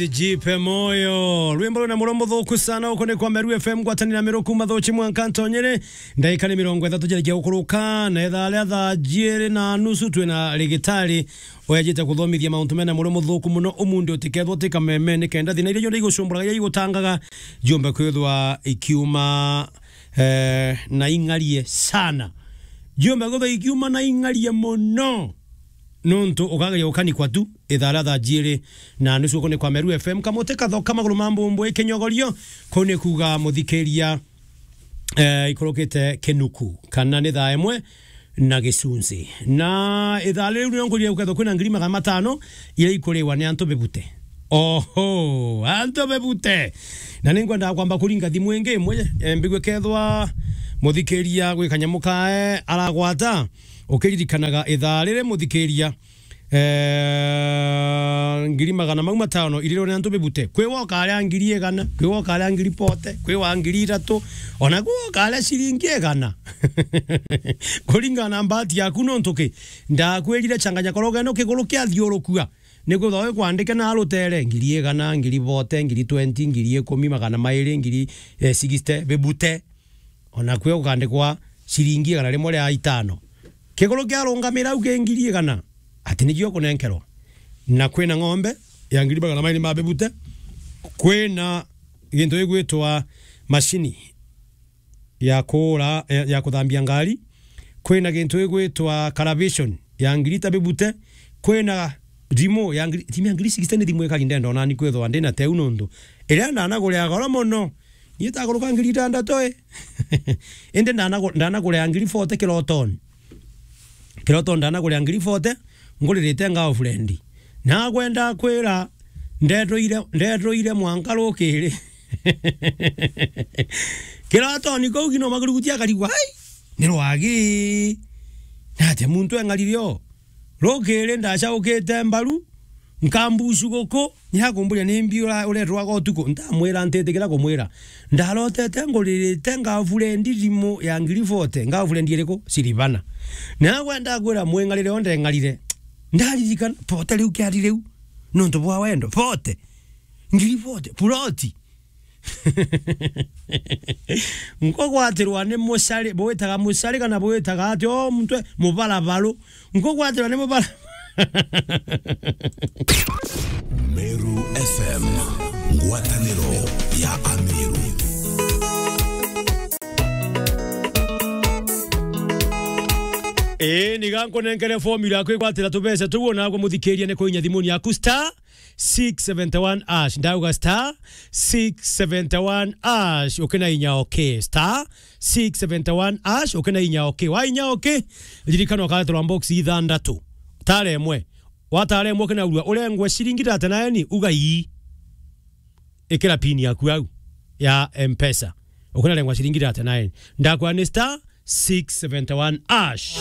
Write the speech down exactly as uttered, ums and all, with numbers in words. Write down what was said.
Jipe moyo. Rwimbo rwina muromo muthuku sana, uko ni kwa Meru F M, ngwatanira Meru kuma Thuchi mwanka Ntonyere. Ndagika ni mirongo ithatu jarikia gukuruka, na ithaa ria thaa jiiri na nusu twina rigitari uyajite kuthomithia mauntu mena muromo muthuku muno. Umunthi utikethwa uti kameme, ni kenda thina iria cionthe igucumburaga, iria igutangaga, jiumbe kwithwa ikiuma, eh, na ing'arie sana. Jiumbe kwithwa ikiuma na ing'arie muno. Nontu ukageria gukanikwa tu, ithaa ria thaa jiiri na nusu uko ni kwa Meru F M. Kamuti kathoka maguru ma mbumbu ikinyogorio, kuu ni kuuga muthikiria, eh, ikurukite kinuku, kana ni thaa imwe na gicunci. Na ithaa riu nio ngurire gukethwa kwina ngiri magana matano iria ikuriwa ni antu bibute. Oho, antu bibute. Na ningwenda kwamba kuringa thimu ingi imwe, eh, mbigue kethwa muthikiria gwi kanyamu kae aragwata. Ukiririkanaga ithaa riri muthikiria, eh, ngiri magana mau matano irirwe ni antu bibute. Kwi wa ukaria ngiri igana, kwi wa ukaria ngiri forty, kwi wa ngiri ithatu, ona kwi wa ukaria ciringi igana. Kuringana na mbati yaku nontu ki? Ndakwirire changanya korogo ino kiguru kiathiurukua. Nikwithwa wi kwandike na rutere, ngiri igana, ngiri forty, ngiri twenty, ngiri ikumi, magana mairi, ngiri, eh, sixty, bibute. Ona kwi ukandikwa ciringi igana rimwe ria itano. Kiguru kiarungamira au ki ngiri igana, ati nikio ukunenkerwa. Na kwina ng'ombe ya ngiri magana mairi ma bibute, kwina gintu gigwitwa macini ya kuura, ya, ya kuthambia ngari, kwina gintu gigwitwa calibration ya ngiri ta bibute, kwina thimu ya ngiri, thimu ya ngiri sixty ni thimu ikari ndenda ona ni kwithwa ndina teu nontu iria ndanagurira goro mono. Ni itakuruka ngiri itandatu, eh. Indi ndanagu-, ndanagurira ngiri forty kirotoni. Kirotoni ndanagurira ngiri forty, nguririte girlfriend. Na kwenda kwira, ndetuire, ndetuire mwanka rukiri. Kirotoni kuu kino maguruguti akarigwa, "Ai, ni rwagi. Na atia muntu eng'arire o?" Rukiri ndacaukite mbaru, nkambucu guku, ni akumburia, "Ni mbi ura-, uretwaga utuku?" Ndamwira ntitikira kumwira. Ndarotete nguririte girlfriend thimu ya ngiri forty. Girlfriend iriku? Silvana. Na agwe ndakwira mwing'arire o ndeng'arire. Ndaririkana, forty riu kiari riu. Nontu bwa wendo. Forty. Ngiri forty. Ploti. Nkugwatirwa ni mucari, bwitaga mucari kana bwitaga ati o mutwe mubarabaru. Nkugwatirwa ni mubara- Meru F M, ngwataniro ya Ameru. Ii, ni gankunenkere formula ya kwigwatira tubeca tuu, onagwe muthikiria ni kuinya thimuni yaku star six seventy one hash. Ndauga star six seventy one hash. Ukina inya okay. Star six seventy one hash. Ukina inya okay. Wa inya okay, ririkana ukareterwa box ithandatu. Tara imwe. Watara imwe ukinaurua, urengwe ciringi thirty nine, uga ii. Ikira pin yaku au ya M-Pesa. Ukinarengwa ciringi thirty nine. Ndakwa ni star six seventy one hash.